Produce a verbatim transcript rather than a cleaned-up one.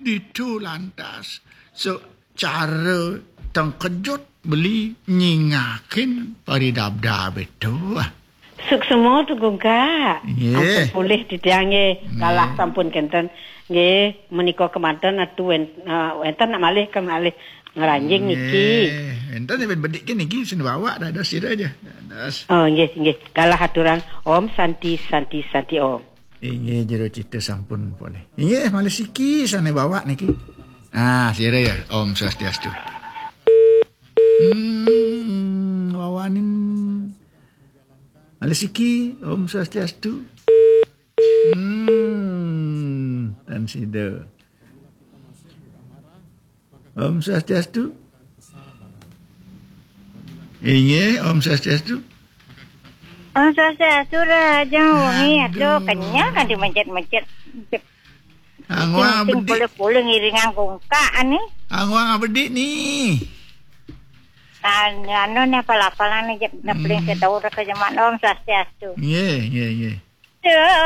Ditu lantas, secara tengkejut beli nyingakin paridabdab itu. Suksma tu gungka. Nggih. Ampun polih titiang nggih. Nggih. Galah sampun kenten. Nggih, menika kemanten atu wen-, eh, wenten nak malih ke malih ngranjing niki. Nggih. Wenten bedik niki sing bawa dados sira aja. Dados. Oh, nggih, nggih. Galah aturan Om Santi, Santi, Santi Om. Inggih, jero cita sampun polih. Inggih, malih siki sane bawa niki. Ah, sira ya. Om Swastiastu. Hmm, wawanin. Malih siki, Om Swastiastu. Hmm, dan sida. Om Swastiastu. Inggih, Om Swastiastu. Om Swastiastu, Raja Wengi. Aduh, aduh, kenyang kan dimencet-mencet. Angwang bedik. Boleh-boleh ngiringan gungka ni. Angwang bedik ni. Anu, anu ni apa-apalan ni, jep, hmm, paling saya tahu dah ke jemaat. Om Swastiastu. Nggih, nggih, nggih. Ya.